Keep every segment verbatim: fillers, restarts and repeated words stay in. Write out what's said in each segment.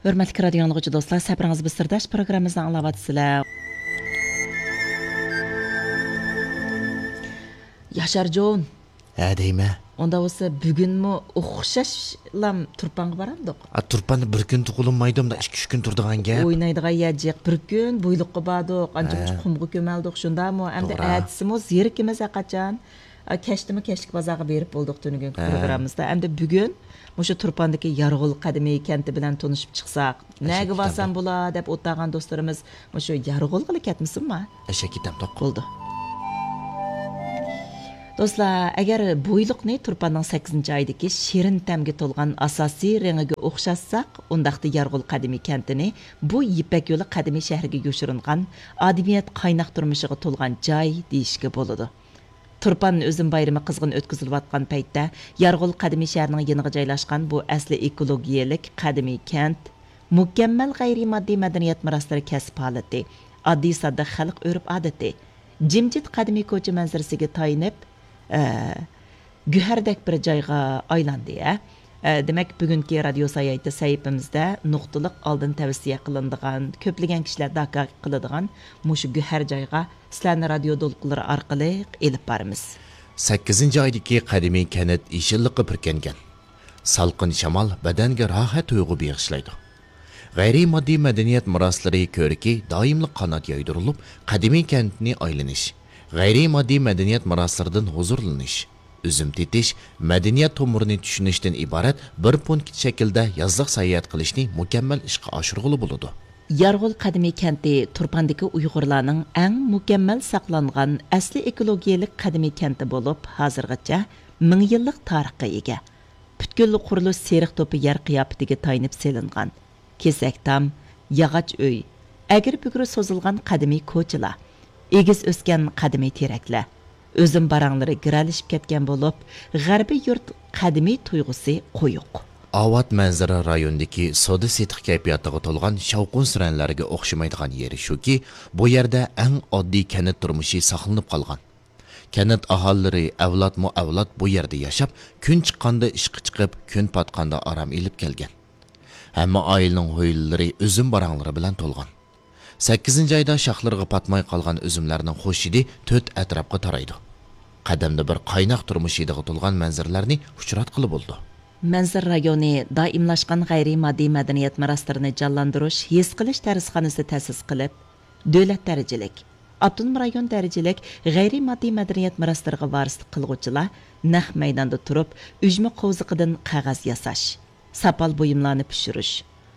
ھۆرمەتلىك رادىيو ئاڭلىغۇچى دوستلار، سەپىرىڭىز بىر سىرداش پروگراممىمىزنى ئاڭلاۋاتىسىلەر. ياشارجان. ھە، دەيمەن. ئۇنداق بولسا، بۈگۈنمۇ ئوخشاشلا تۇرپانغا بارامدۇق؟ ئا، تۇرپاندا بىر كۈن تۇغۇلمايدۇ، مۇنداق ئىككى، ئۈچ كۈن تۇرىدىغان گەپ. ئوينايدىغان يەر جىق. بىر كۈن بويلۇققا باردۇق، ئانچە-مۇنچە قۇمغا كۆمەلدۇق، شۇنداقمۇ؟ ئەمدى توغرا. ئەتىسىمۇ زېرىكىمىز ھەرقاچان. ئا، كەچتىمۇ كەچلىك بازارغا بېرىپ بولدۇق تۈنۈگۈنكى پروگراممىمىزدا. ئەمدى بۈگۈن مۇشۇ تۇرپاندىكى يارغول قەدىمىي كەنتى بىلەن تونۇشۇپ چىقساق، نەگە بارسام بولا دەپ ئولتۇرغان دوستلىرىمىز مۇشۇ يارغولغىلا كەتمىسۇنما؟ ئەشەك كېتەمدۇق. بولدى. دوستلار، ئەگەر بويلۇقنى تۇرپاننىڭ سەككىزىنچى ئايدىكى شېرىن تەمگە تولغان ئاساسىي رېڭىگە ئوخشاتساق، ئۇنداقتا يارغول قەدىمىي كەنتىنى بۇ يىپەك يولى قەدىمىي شەھىرىگە يوشۇرۇنغان ئادىمىيەت قايناق تۇرمۇشىغا تولغان جاي دېيىشكە بولىدۇ. تۇرپان ئۈزۈم بايرىمى قىزغىن ئۆتكۈزۈلۈۋاتقان پەيتتە، يارغول قەدىمىي شەھىرىنىڭ يېنىغا جايلاشقان بۇ ئەسلى ئېكولوگىيەلىك قەدىمىي كەنت، مۇكەممەل غەيرىي ماددىي مەدەنىيەت مىراسلىرى كەسىپ ھالىتى، ئاددىي-ساددا خەلق ئۆرپ-ئادىتى، جىمجىت قەدىمىي كوچا مەنزىرىسىگە تايىنىپ، ئە، گۆھەردەك بىر جايغا ئايلاندى، ھە. ئە، دېمەك، بۈگۈنكى رادىيو ساياھىتى سەھىپىمىزدە نۇقتىلىق ئالدىن تەۋسىيە قىلىنىدىغان، كۆپلىگەن كىشىلەر داكا قىلىدىغان مۇشۇ گۆھەر جايغا سىلەرنى رادىيو دولقۇنلىرى ئارقىلىق ئېلىپ بارىمىز. سەككىزىنچى ئايدىكى قەدىمىي كەنت يېشىللىققا پۈركەنگەن. سالقىن شامال بەدەنگە راھەت تۇيغۇ بېغىشلايدۇ. غەيرىي ماددىي مەدەنىيەت مىراسلىرى كۆرىكى دائىملىق قانات يايدۇرۇلۇپ، قەدىمىي كەنتنى ئايلىنىش، غەيرىي ماددىي مەدەنىيەت مىراسلىرىدىن ھۇزۇرلىنىش، ئۈزۈم تېتىش، مەدەنىيەت تومۇرىنى چۈشىنىشتىن ئىبارەت بىر پونكىت شەكلىدە يازلىق ساياھەت قىلىشنى مۇكەممەل ئىشقا ئاشۇرغىلى بولىدۇ. يارغول قەدىمىي كەنتى تۇرپاندىكى ئۇيغۇرلارنىڭ ئەڭ مۇكەممەل ساقلانغان ئەسلى ئېكولوگىيەلىك قەدىمىي كەنتى بولۇپ، ھازىرغىچە مىڭ يىللىق تارىخقا ئىگە. پۈتكۈل قۇرۇلۇش سېرىق توپا يەر قىياپىتىگە تايىنىپ سېلىنغان. كېسەك تام، ياغاچ ئۆي، ئەگرى-بۈگرى سوزۇلغان قەدىمىي كوچىلار، ئېگىز ئۆسكەن قەدىمىي تېرەكلەر، ئۈزۈم باراڭلىرى گىرەلىشىپ كەتكەن بولۇپ، غەربىي يۇرت قەدىمىي تۇيغۇسى قويۇق. ئاۋات مەنزىرە رايونىدىكى سودا-سېتىق كەيپىياتىغا تولغان شاۋقۇن-سۈرەنلەرگە ئوخشىمايدىغان يېرى شۇكى، بۇ يەردە ئەڭ ئاددىي كەنت تۇرمۇشى ساقلىنىپ قالغان. كەنت ئاھالىلىرى ئەۋلادمۇ ئەۋلاد بۇ يەردە ياشاپ، كۈن چىققاندا ئىشقا چىقىپ، كۈن پاتقاندا ئارام ئېلىپ كەلگەن. ھەممە ئائىلىنىڭ ھويلىلىرى ئۈزۈم باراڭلىرى بىلەن تولغان. سەككىزىنچى ئايدا شاخلىرىغا پاتماي قالغان ئۈزۈملەرنىڭ خۇش ھىدى تۆت ئەتراپقا تارايدۇ. قەدەمدە بىر قايناق تۇرمۇش ھىدىغا تولغان مەنزىرىلەرنى ئۇچراتقىلى بولىدۇ. مەنزىرە رايونى دائىملاشقان غەيرىي ماددىي مەدەنىيەت مىراسلىرىنى جانلاندۇرۇش، ھېس قىلىش دەرسخانىسى تەسىس قىلىپ، دۆلەت دەرىجىلىك، ئاپتونوم رايون دەرىجىلىك غەيرىي ماددىي مەدەنىيەت مىراسلىرىغا ۋارىسلىق قىلغۇچىلار نەق مەيداندا تۇرۇپ، ئۈجمە قوۋزىقىدىن قەغەز ياساش، ساپال بۇيۇملارنى پىشۇرۇش،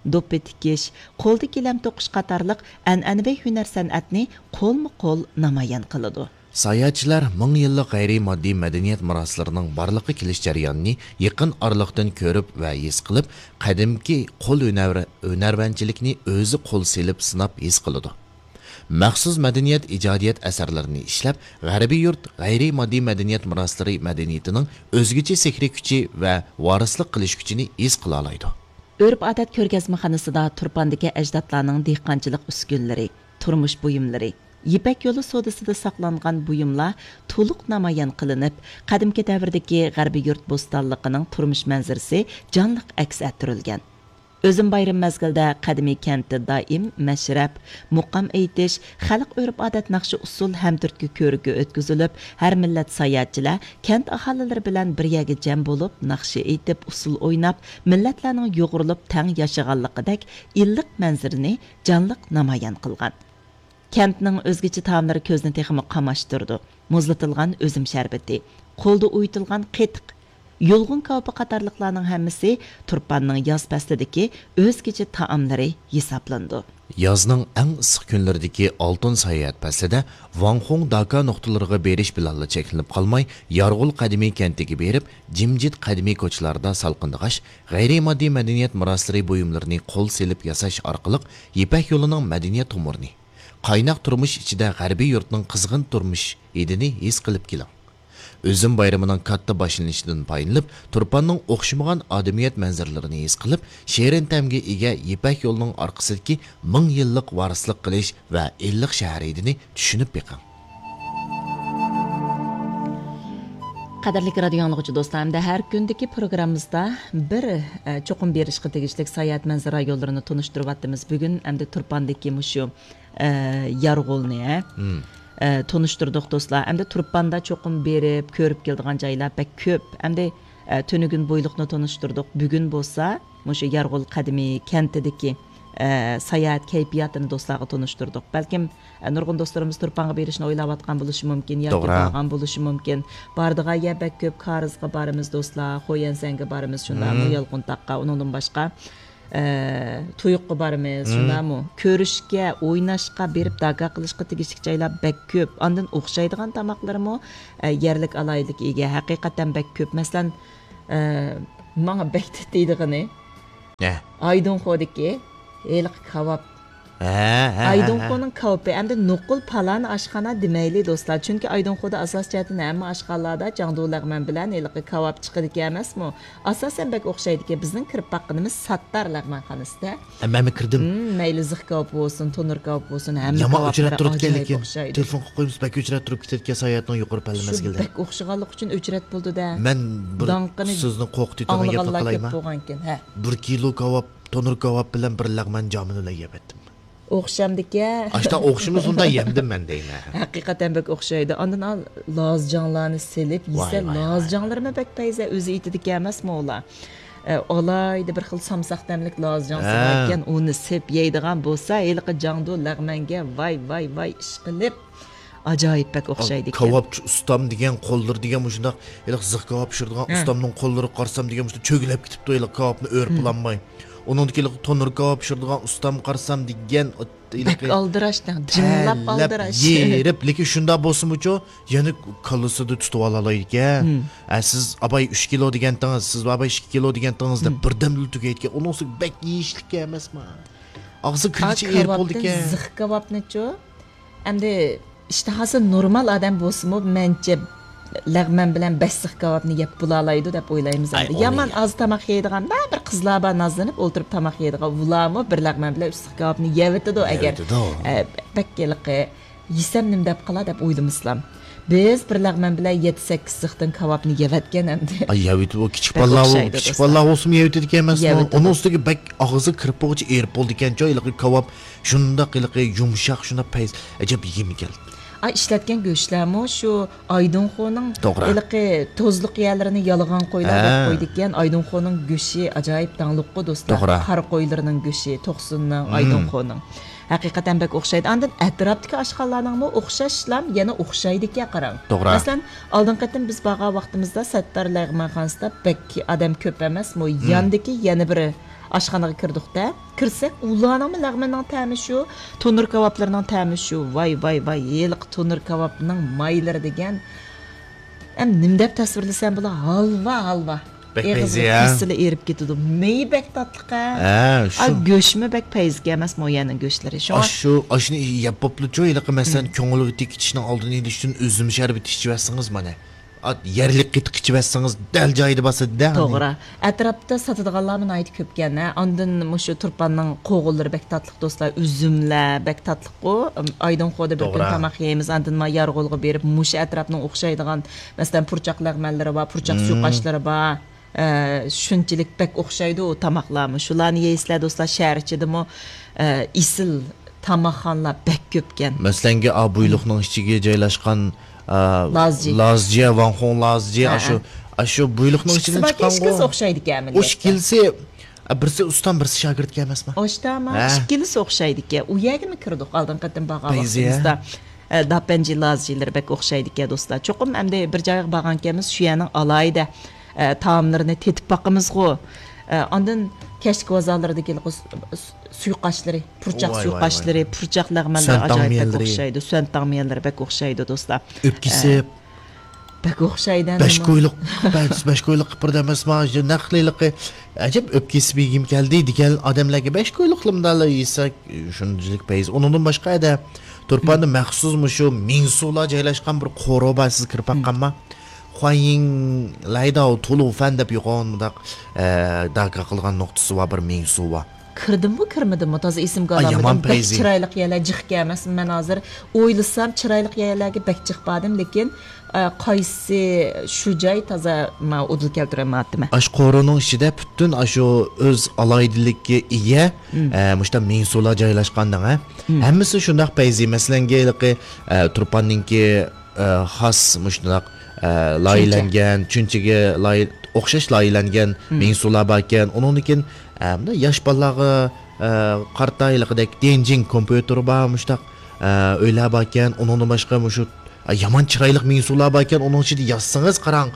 دوپپا تىكىش، قولدا گىلەم توقۇش قاتارلىق ئەنئەنىۋى ھۈنەر-سەنئەتنى قولمۇ قول نامايان قىلىدۇ. ساياھەتچىلەر مىڭ يىللىق غەيرىي ماددىي مەدەنىيەت مىراسلىرىنىڭ بارلىققا كېلىش جەريانىنى يېقىن ئارىلىقتىن كۆرۈپ ۋە ھېس قىلىپ، قەدىمكى قول ھۈنەر-، ھۈنەرۋەنچىلىكنى ئۆزى قول سېلىپ سىناپ ھېس قىلىدۇ. مەخسۇس مەدەنىيەت ئىجادىيەت ئەسەرلىرىنى ئىشلەپ، غەربىي يۇرت غەيرىي ماددىي مەدەنىيەت مىراسلىرى مەدەنىيىتىنىڭ ئۆزگىچە سېھرىي كۈچى ۋە ۋارىسلىق قىلىش كۈچىنى ھېس قىلالايدۇ. ئۆرپ-ئادەت كۆرگەزمىخانىسىدا تۇرپاندىكى ئەجدادلارنىڭ دېھقانچىلىق ئۈسكۈنىلىرى، تۇرمۇش بۇيۇملىرى، يىپەك يولى سودىسىدا ساقلانغان بۇيۇملار تولۇق نامايان قىلىنىپ، قەدىمكى دەۋردىكى غەربىي يۇرت بوستانلىقىنىڭ تۇرمۇش مەنزىرىسى جانلىق ئەكس ئەتتۈرۈلگەن. ئۈزۈم بايرىمى مەزگىلىدە قەدىمىي كەنتتە دائىم مەشرەپ، مۇقام ئېيتىش، خەلق ئۆرپ-ئادەت، ناخشا-ئۇسسۇل ھەمتۈرتكە كۆرىكى ئۆتكۈزۈلۈپ، ھەر مىللەت ساياھەتچىلەر كەنت ئاھالىلىرى بىلەن بىر يەرگە جەم بولۇپ، ناخشا ئېيتىپ، ئۇسسۇل ئويناپ، مىللەتلەرنىڭ يۇغۇرۇلۇپ تەڭ ياشىغانلىقىدەك ئىللىق مەنزىرىنى جانلىق نامايان قىلغان. كەنتنىڭ ئۆزگىچە تائاملىرى كۆزنى تېخىمۇ قاماشتۇرىدۇ. مۇزلىتىلغان ئۈزۈم شەربىتى، قولدا ئۇيۇتۇلغان قېتىق، يۇلغۇن كاۋىپى قاتارلىقلارنىڭ ھەممىسى تۇرپاننىڭ ياز پەسلىدىكى ئۆزگىچە تائاملىرى ھېسابلىنىدۇ. يازنىڭ ئەڭ ئىسسىق كۈنلىرىدىكى ئالتۇن ساياھەت پەسلىدە ۋاڭخۇڭ داكا نۇقتىلىرىغا بېرىش بىلەنلا چەكلىنىپ قالماي، يارغول قەدىمىي كەنتىگە بېرىپ، جىمجىت قەدىمىي كوچىلاردا سالقىندىغاچ، غەيرىي ماددىي مەدەنىيەت مىراسلىرى بۇيۇملىرىنى قول سېلىپ ياساش ئارقىلىق يىپەك يولىنىڭ مەدەنىيەت تومۇرىنى، قايناق تۇرمۇش ئىچىدە غەربىي يۇرتنىڭ قىزغىن تۇرمۇش ھىدىنى ھېس قىلىپ كېلىڭ. ئۈزۈم بايرىمىنىڭ كاتتا باشلىنىشىدىن پايدىلىنىپ، تۇرپاننىڭ ئوخشىمىغان ئادىمىيەت مەنزىرىلىرىنى ھېس قىلىپ، شېرىن تەمگە ئىگە يىپەك يولىنىڭ ئارقىسىدىكى مىڭ يىللىق ۋارىسلىق قىلىش ۋە ئىللىق شەھەر ھىدىنى چۈشىنىپ بېقىڭ. قەدىرلىك رادىيو ئاڭلىغۇچى دوستلار، ئەمدى ھەر كۈندىكى پروگراممىمىزدا بىر، ئە، چوقۇم بېرىشقا تېگىشلىك ساياھەت مەنزىرە رايونلىرىنى تونۇشتۇرۇۋاتىمىز. بۈگۈن ئەمدى تۇرپاندىكى مۇشۇ، ئە، يارغولنى، ھە؟ مم. ئە، تونۇشتۇردۇق دوستلار. ئەمدى تۇرپاندا چوقۇم بېرىپ كۆرۈپ كېلىدىغان جايلار بەك كۆپ. ئەمدى، ئە، تۈنۈگۈن بويلۇقنى تونۇشتۇردۇق. بۈگۈن بولسا مۇشۇ يارغول قەدىمىي كەنتىدىكى، ئە، ساياھەت كەيپىياتىنى دوستلارغا تونۇشتۇردۇق. بەلكىم، ئە، نۇرغۇن دوستلىرىمىز تۇرپانغا بېرىشنى ئويلاۋاتقان بولۇشى مۇمكىن ياكى توغرا. بارغان بولۇشى مۇمكىن. بارىدىغان يەر بەك كۆپ، كارىزغا بارىمىز دوستلار، خويەنسەنگە بارىمىز، شۇنداقمۇ مم. يالقۇنتاغقا، ئۇنىڭدىن باشقا، ئە، تۇيۇققا بارىمىز، مم. شۇنداقمۇ؟ كۆرۈشكە، ئويناشقا بېرىپ داكا قىلىشقا تېگىشلىك جايلار بەك كۆپ. ئاندىن ئوخشايدىغان تاماقلىرىمۇ، ئە، يەرلىك ئالاھىدىلىككە ئىگە. ھەقىقەتەن بەك كۆپ. مەسىلەن، ئە، ماڭا بەك تېتىيدىغىنى، ھە. ئايدىڭخودىكى ھېلىقى كاۋاپ. ھە، ھە، ھە، ئايدىڭخونىڭ كاۋىپى ئەمدى نوقۇل پالان ئاشخانا دېمەيلى، دوستلار. چۈنكى ئايدىڭخودا ئاساسىي جەھەتتىن ھەممە ئاشخانىلاردا جاڭدۇ لەغمەن بىلەن ھېلىقى كاۋاپ چىقىدىكەن ئەمەسمۇ؟ ئاساسەن بەك ئوخشايدىكەن. بىزنىڭ كىرىپ باققىنىمىز ساتتار لەغمەنخانىسىدا. ھە، مەنمۇ كىردىم. مم، مەيلى زىخ كاۋىپى بولسۇن، تونۇر كاۋىپى بولسۇن، ھەممە يامان كاۋاپلىرى ئۆچرەت تۇرىدىكەن، ئاجايىپ لېكىن ئوخشايدۇ. تېلېفون قىلىپ قويمىسا بەك ئۆچرەت تۇرۇپ كېتىدىكەن ساياھەتنىڭ يۇقىرى پەللە شۇ مەزگىلىدە. بەك ئوخشىغانلىقى ئۈچۈن ئۆچرەت بولدى-دە. مەن بىر داڭقىنى سۆزنى قورقۇتۇۋېتىدىغان گەپنى ئاڭلىغانلار قىلايما؟ كۆپ بولغانكەن، ھە. بىر كىلو كاۋاپ، تونۇر كاۋاپ بىلەن بىر لەغمەن جامىنى بىلەن يەپ ئەتتىم. ئوخشامدىكەن. ئاشتا ئوخشىمىسۇندا يەمدىم مەن دەيمەن. ھەقىقەتەن بەك ئوخشايدۇ. ئاندىن ئال لازجاڭلارنى سېلىپ يېسە، ۋاي، ۋاي، ۋاي. لازجاڭلىرىمۇ بەك پەيزە، ئۆزى ئېيتىدىكەن ئەمەسمۇ ئۇلار. ئە، ئالاھىدە بىر خىل سامساق تەملىك لازجاڭ ھە. سېلىۋەتكەن، ئۇنى سېپ يەيدىغان بولسا، ھېلىقى جاڭدۇ لەغمەنگە ۋاي، ۋاي، ۋاي ئىشقىلىپ، ئاجايىپ بەك ئوخشايدىكەن. كاۋاپچى ئۇستام دېگەن قوللىرى دېگەن مۇشۇنداق، ھېلىقى زىخ كاۋاپ پىشۇرىدىغان ھە. ئۇستامنىڭ قوللىرىغا قارىسام دېگەن مۇشۇنداق چۆگىلەپ كېتىپتۇ، ھېلىقى كاۋاپنى ئۆرپىلانماي. ھىم. ئۇنىڭدىكى ھېلىقى تونۇر كاۋاپ پىشۇرىدىغان ئۇستام قارىسام دېگەن، ھېلىقى بەك ئالدىراش، جىملاپ تەرلەپ، ئالدىراش. يېرىپ، لېكىن شۇنداق بولسىمۇچۇ، يەنە كاللىسىدا تۇتۇۋالالايدىكەن. ھىم. ئە، سىز ئاباي ئۈچ كىلو دېگەنتىڭىز، سىز ئاباي ئىككى كىلو دېگەنتىڭىز دەپ ھىم. بىردەمدىلا تۈگەيدىكەن. ئۇنىڭ ئۈستىگە بەك يېيىشلىك ئەمەسما. ئاغزى كىرگۈچە ئېرىپ بولىدىكەن. زىخ كاۋاپنىچۇ؟ ئەمدى ئىشتىھاسى نورمال ئادەم بولسىمۇ، مەنچە لەغمەن بىلەن بەش زىخ كاۋاپنى يەپ بولالايدۇ دەپ ئويلايمىز ئەمدى. يامان ئاز تاماق يەيدىغان بەزى بىر قىزلار بار، نازلىنىپ ئولتۇرۇپ تاماق يەيدىغان، ئۇلارمۇ بىر لەغمەن بىلەن ئۈچ زىخ كاۋاپنى يەۋېتىدۇ ئەگەر، يەۋېتىدۇ. ئە، بەك ھېلىقى يېسەم نېمە دەپ قالا دەپ ئويلىمىسىلام. بىز بىر لەغمەن بىلەن يەتتە سەككىز زىختىن كاۋاپنى يەۋەتكەن ئەمدى. ئاي، يەۋېتىدۇ، ئۇ كىچىك بالىلار، كىچىك بالىلار بولسىمۇ يەۋېتىدىكەن ئەمەسمۇ؟ يەۋېتىدۇ. ئۇنىڭ ئۈستىگە بەك ئاغزىغا كىرىپ بولغۇچە ئېرىپ بولىدىكەنچۇ، ھېلىقى كاۋاپ شۇنداق، ھېلىقى يۇمشاق، شۇنداق پەيز، ئەجەب يېگۈم كەلدى. ئا، ئىشلەتكەن گۆشلەرمۇ شۇ ئايدىڭخونىڭ توغرا. ھېلىقى توزلۇق يەرلىرىنى يالىغان قويلار دەپ ھە. قويىدىكەن. ئايدىڭخونىڭ گۆشى ئاجايىپ داڭلىققۇ دوستلار. توغرا. قارا قويلىرىنىڭ گۆشى، توقسۇننىڭ، مم. ئايدىڭخوننىڭ. ھەقىقەتەن بەك ئوخشايدۇ. ئاندىن ئەتراپتىكى ئاشخانىلارنىڭمۇ ئوخشاشلا يەنە ئوخشايدىكەن، قاراڭ. توغرا. مەسىلەن، ئالدىنقى قېتىم بىز بارغان ۋاقتىمىزدا سەتتار لەغمەنخانىسىدا بەك ئادەم كۆپ ئەمەسمۇ؟ مم. ياندىكى يەنە بىر ئاشخانىغا كىردۇق-دە. كىرسەك، ئۇلارنىڭمۇ لەغمىنىڭ تەمى شۇ، تونۇر كاۋاپلىرىنىڭ تەمى شۇ. ۋاي، ۋاي، ۋاي، ھېلىقى تونۇر كاۋاپنىڭ مايلىرى دېگەن. ئەم، نېمە دەپ تەسۋىرلىسەم بولا؟ ھالۋا، ھالۋا. بەك ئېغىزغا پەيزى، ھە؟ كىرسىلا ئېرىپ كېتىدۇ. مېيى بەك تاتلىق، ھە؟ ھە، شۇ. ئا، گۆشمۇ بەك پەيزىكەن ئەمەسمۇ يەنە گۆشلىرى. شۇڭا ئاشۇ، ئاشۇنى يەپ بوپتۇچۇ، ھېلىقى مەسىلەن، مم. كۆڭۈلگە تېگىشنىڭ ئالدىنى ئېلىش ئۈچۈن ئۈزۈم شەربىتى ئىچىۋەتسىڭىز مانا. ئا، يەرلىك قېتىق ئىچىۋەتسىڭىز دەل جايىدا باسىدۇ-دە، ھەنى. توغرا. ئەتراپتا ساتىدىغانلارمۇ ناھايىتى كۆپكەن، ھە. ئاندىن مۇشۇ تۇرپاننىڭ قوغۇنلىرى بەك تاتلىق دوستلار، ئۈزۈملەر بەك تاتلىققۇ. ئىم، ئايدىڭخودا بىر كۈن توغرا. تاماق يەيمىز، ئاندىن ما يارغولغا بېرىپ مۇشۇ ئەتراپنىڭ ئوخشايدىغان، مەسىلەن، پۇرچاق لەغمەنلىرى بار، پۇرچاق مم. سۇيۇقئاشلىرى بار. ئە، شۇنچىلىك بەك ئوخشايدۇ ئۇ تاماقلارمۇ. شۇلارنى يەيسىلەر دوستلار، شەھەر ئىچىدىمۇ، ئە، ئېسىل تاماقخانىلار بەك كۆپكەن. مەسىلەنگە، ئا، بۇيلۇقنىڭ ئىچىگە جايلاشقان، ئا، لازجى. لازجى، ۋاڭخۇڭ لازجى، ھە، ئاشۇ، ھە. ئاشۇ بۇيلۇقنىڭ ئىچىدىن ئىككىسىمۇ چىققانغۇ. ئىككىسى ئوخشايدىكەن ئەمەلىيەتتە. ئۇ ئىككىلىسى، ئا، بىرسى ئۇستام، بىرسى شاگىرتكەن ئەمەسمۇ؟ ئوشتاما، ھە. ئىككىلىسى ئوخشايدىكەن. ئۇ يەرگىمۇ كىردۇق ئالدىنقى قېتىم بارغان پەيزىيە. ۋاقتىمىزدا. ئە، داپەنجى لازجىلىرى بەك ئوخشايدىكەن، دوستلار. چوقۇم ئەمدى بىر جايغا بارغانكەنمىز، شۇ يەرنىڭ ئالاھىدە، ئە، تائاملىرىنى تېتىپ باقىمىزغۇ. ئە، ئاندىن كەچلىك بازارلىرىدىكى س-، س-، سۇيۇقئاشلىرى، پۇرچاق ۋاي، ۋاي، سۇيۇقئاشلىرى، ۋاي. پۇرچاق لەغمەنلىرى سۈەن ئاجايىپ بەك تاڭمىيەنلىرى. ئوخشايدۇ. سۈەن تاڭمىيەنلىرى بەك ئوخشايدۇ، دوستلار. ئۆپكىسى. ئە، بەك ئوخشايدۇ بەش ئەمدىمۇ. كويلۇق، بەش، بەش كويلۇق قىپىردا ئەمەسما، نەق ھېلىقى ئەجەب ئۆپكىسى بېگىم كەلدى دېگەن ئادەملەرگە بەش كويلۇقلىمۇ دالا يېسەك، شۇنچىلىك پەيز. ئۇنىڭدىن باشقا ئەدە تۇرپاندا مەخسۇس مۇشۇ مىڭسۇلار جايلاشقان بىر قورۇ بار، سىز كىرىپ باققانما؟ خۇايىڭ لايداۋ تۇلۇفەن دەپ يوغان مۇنداق، ئە، داكا قىلغان نۇقتىسى بار بىر مىڭسۇ بار. كىردىممۇ، كىرمىدىممۇ، تازا ئېسىمگە ئا، ئالالمىدىم. يامان بەك پەيزى. چىرايلىق يەرلەر جىق ئىكەن ئەمەسمۇ؟ مەن ھازىر ئويلىسام، چىرايلىق يەرلەرگە بەك جىق باردىم، لېكىن ئە، قايسى شۇ جاي تازا ما ئۇدۇل كەلتۈرەلمەيۋاتىمەن. ئاشۇ قورۇنىڭ ئىچىدە پۈتۈن ئاشۇ ئۆز ئالاھىدىلىككە ئىگە، مم. ئە، مۇشۇنداق مېڭە سۇلار جايلاشقان دەڭ، ھە؟ مم. ھەممىسى شۇنداق پەيزى. مەسىلەنگە، ھېلىقى، ئە، تۇرپاننىڭكى، ئە، خاس مۇشۇنداق، ئە، چۈنچە. لايىھەلەنگەن، چۈنچىگە لايىھ-، ئوخشاش لايىھەلەنگەن مم. مېڭە سۇلار باركەن. ئۇنىڭدىن كېيىن، ئە، مۇنداق ياش بالىلارغا، ئە، قارىتا ھېلىقىدەك دېنجىڭ كومپيۇتېرى بار، مۇشۇنداق، ئە، ئۆيلەر باركەن. ئۇنىڭدىن باشقا مۇشۇ ئا، يامان چىرايلىق مېڭە سۇلار باركەن، ئۇنىڭ ئىچىدە يازسىڭىز قاراڭ.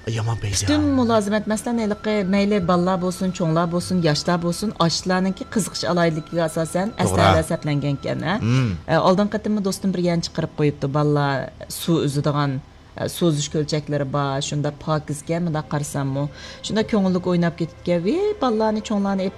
ئا، يامان پەيزى. پۈتۈن مۇلازىمەت، مەسىلەن، ھېلىقى مەيلى بالىلار بولسۇن، چوڭلار بولسۇن، ياشلار بولسۇن، ئاشۇلارنىڭكى قىزىقىش ئالاھىدىلىكىگە ئاساسەن توغرا. ئەسلىھەلەر سەپلەنگەنكەن، ھە؟ مم. ئە، ئالدىنقى قېتىممۇ دوستۇم بىر يەرنى چىقىرىپ قويۇپتۇ، بالىلار سۇ ئۈزىدىغان، ئە، سۇ ئۈزۈش كۆلچەكلىرى بار، شۇنداق پاكىزكەن، مۇنداق قارىساممۇ. شۇنداق كۆڭۈللۈك ئويناپ كېتىپتىكەن، ۋىي، بالىلارنى، چوڭلارنى ئېلىپ